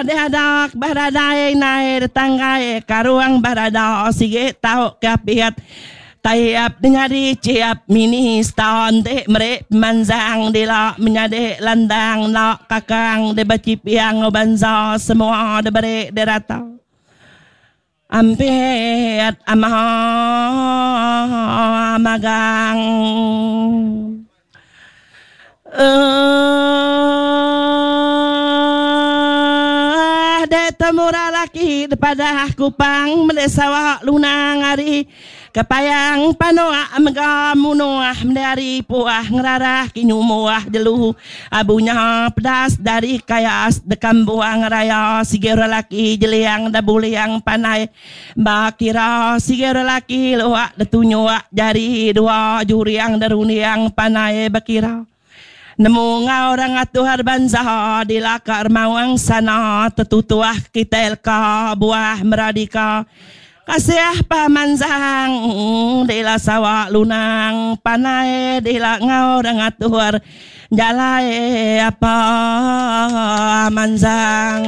Diadak beradai nai detanggai karung berada sigi tau ke apit Taib nyadi chiap minista enti meri pemansang dila menyadi landang enda kakang dibechiping enggau bansa semua diberi dirata. Ampit ama magang. Eeh deh temura laki depadah kupang meli sawa lunang ari kepayang panua mega munuh meli ari puah ngerarah kinyu muah jelu Abu nya pedas dari kayas dekam buang raya sigi orang laki jeliang da buliang panai ba kira sigi orang laki luak da tunyuk jari dua juriang da runding panai bekira nemu enggau orang atuh bansa dilaka remaung sana tetutuh kitai leka buah meradika Kasih pemansang dila sawa lunang panai dila enggau da ngatur jalai apa mansang.